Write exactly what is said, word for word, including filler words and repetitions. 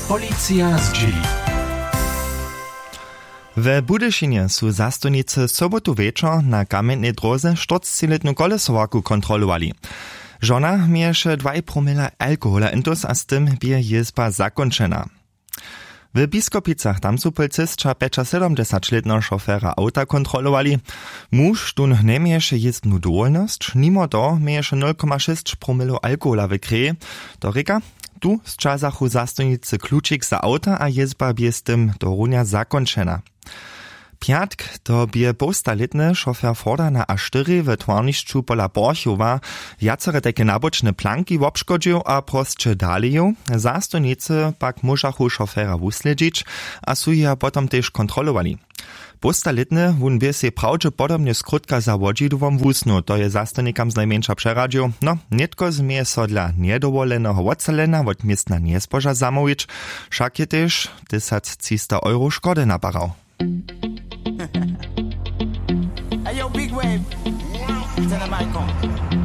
Policija zdźěli. We Budyšinje su zastojnicy sobotu wječor na kamjentnej dróze štyrcciletnu kolesowarku kontrolowali. Žona měješe dwaj promila alkohola intus a z tym bě jězba zakónčena. W Biskopicach tam su policisća pjećasydomdźesaćlětneho šofera awta kontrolowali. Muž tón njeměješe jězbnu dowolnosć, nimo toho měješe nul koma šěsć promilow alkohola w kreji. To rěka, tu sćazachu zastojnicy klučik za awta a jězba bě z tym dorunja zakónčena. Pjatk to bě połstalětny šofer forda na a štyri w twarnišću pola porchowa. Wjacere tajke nabočne planki wobškodźił a prosće dale jěł. Zastojnicy pak móžachu šofera wuslědźić a su jeho potom tež kontrolowali. Półstalětny wón bě sej prawdźepodobnje skrótka za wodźidłom wusnył, to je zastojnikam znajmjeńša přeradźił. No, nětko změje so dla njedowoleneho wotstalena wot městna njezboža zamołwić. Wšak je tež tysactřista euro škody naparał. Hey, yo, Big Wave. Tell them I come.